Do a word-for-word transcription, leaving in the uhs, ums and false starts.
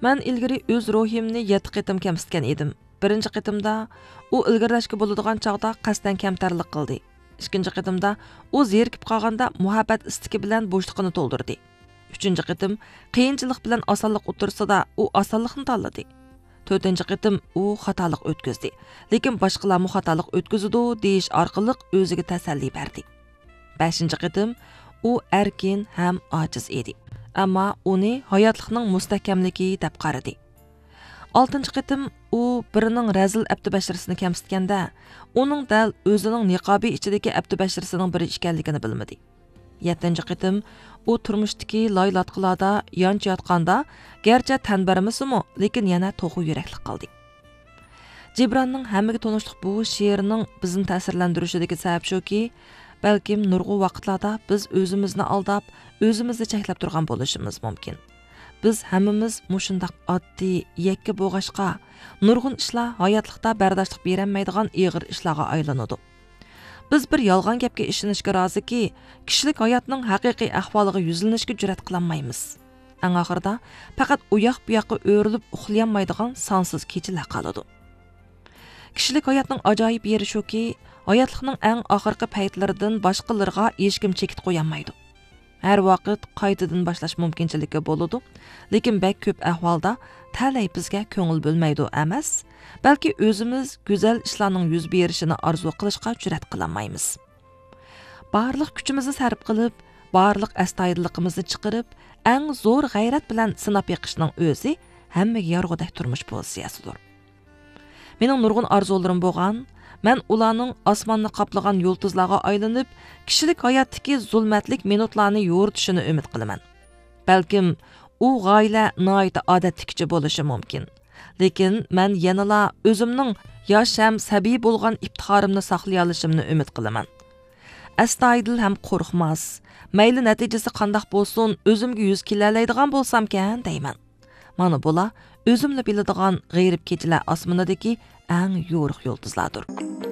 مەن ئىلگىرى ئۆز روھىمنى يەتتە قېتىم كەمسىتكەن ئىدىم. بىرىنچى قېتىمدا ئۇ ئىلگىرىلەشكە بولىدىغان چاغدا قەستەن كەمتەرلىك قىلدى. ئىككىنچى قېتىمدا ئۇ زېرىكىپ قالغاندا مۇھەببەت ئىستىكى بىلەن بوشلۇقىنى تولدۇردى. ئۈچىنچى قېتىم قىيىنچىلىق بىلەن ئاسانلىق ئوتتۇرىسىدا ئۇ ئاسانلىقنى تاللىدى. تۆتىنچى قېتىم ئۇ خاتالىق ئۆتكۈزدى، لېكىن باشقىلارمۇ خاتالىق ئۆتكۈزىدۇ دېيىش ئارقىلىق ئۆزىگە تەسەللى بەردى. بەشىنچى قېتىم ئۇ ئەركىن ھەم ئاجىز ئىدى. ئەمما ئۇنى ھاياتلىقنىڭ مۇستەھكەملىكى دەپ قارىدى. ئالتىنچى قېتىم ئۇ بىرىنىڭ رەزىل ئەپتى بەشىرىسىنى كەمسىتكەندە، ئۇنىڭ دەل ئۆزىنىڭ نىقابى ئىچىدىكى ئەپتى بەشىرىسىنىڭ بىرى ئىكەنلىكىنى بىلمىدى. يەتتىنچى قېتىم ئۇ تۇرمۇشتىكى لاي-لاتقىلاردا يانچە ياتقاندا، گەرچە تەن بەرمىسىمۇ، لېكىن يەنە توخۇ يۈرەكلىك قالدى. جىبراننىڭ ھەممىگە تونۇشلۇق بۇ شېئىرنىڭ بىزنى تەسىرلەندۈرۈشىدىكى سەۋەب شۇكى، بەلكىم نۇرغۇن ۋاقىتلاردا بىز ئۆزىمىزنى ئالداپ، ئۆزىمىزنى چەكلەپ تۇرغان بولۇشىمىز مۇمكىن. بىز ھەممىمىز مۇشۇنداق ئاددىي، يەككە بولغاچقا، نۇرغۇن ئىشلار ھاياتلىقتا بەرداشلىق بېرەلمەيدىغان ئېغىر ئىشلارغا ئايلىنىدۇ. بىز بىر يالغان گەپكە ئىشىنىشكە رازىكى، كىشىلىك ھاياتنىڭ ھەقىقىي ئەھۋالىغا يۈزلىنىشكە جۈرئەت قىلالمايمىز. ئەڭ ئاخىرىدا پەقەت ئۇياق-بۇياققا ئۆرۈلۈپ ئۇخلىيالمايدىغان سانسىز كېچىلەر قالىدۇ. كىشىلىك ھاياتنىڭ ئاجايىپ يېرى شۇكى، ھاياتلىقنىڭ ئەڭ ئاخىرقى پەيتلىرىدىن باشقىلىرىغا ھېچكىم چېكىت قويالمايدۇ. ھەر ۋاقىت قايتىدىن باشلاش مۇمكىنچىلىكى بولىدۇ، لېكىن بەك كۆپ ئەھۋالدا تەلەي بىزگە كۆڭۈل بۆلمەيدۇ ئەمەس، بەلكى ئۆزىمىز گۈزەل ئىشلارنىڭ يۈز بېرىشىنى ئارزۇ قىلىشقا جۈرئەت قىلالمايمىز. بارلىق كۈچىمىزنى سەرپ قىلىپ، بارلىق ئەستايىدىللىقىمىزنى چىقىرىپ، ئەڭ زور غەيرەت بىلەن سىناپ بېقىشنىڭ ئۆزى ھەممىگە يارىغۇدەك تۇرمۇش پوزىتسىيەسىدۇر. مېنىڭ نۇرغۇن ئارزۇلىرىم بولغان، مەن ئۇلارنىڭ ئاسماننى قاپلىغان يۇلتۇزلارغا ئايلىنىپ، كىشىلىك ھاياتتىكى زۇلمەتلىك مىنۇتلارنى يورۇتۇشىنى ئۈمىد قىلىمەن. بەلكىم ئۇ غايىلە ناھايىتى ئادەتتىكىچە بولۇشى مۇمكىن. لېكىن مەن يەنىلا ئۆزۈمنىڭ ياش ھەم سەبىي بولغان ئىپتىخارىمنى ساقلىيالىشىمنى ئۈمىد قىلىمەن. ئەستايىدىل ھەم قورقماس، مەيلى نەتىجىسى قانداق بولسۇن، ئۆزۈمگە يۈز كېلەلەيدىغان بولسامكەن دەيمەن. مانا بۇلار ئۆزۈملا بىلىدىغان غېرىب كېچىلەر ئاسمىنىدىكى ئەڭ يورۇق يۇلتۇزلاردۇر.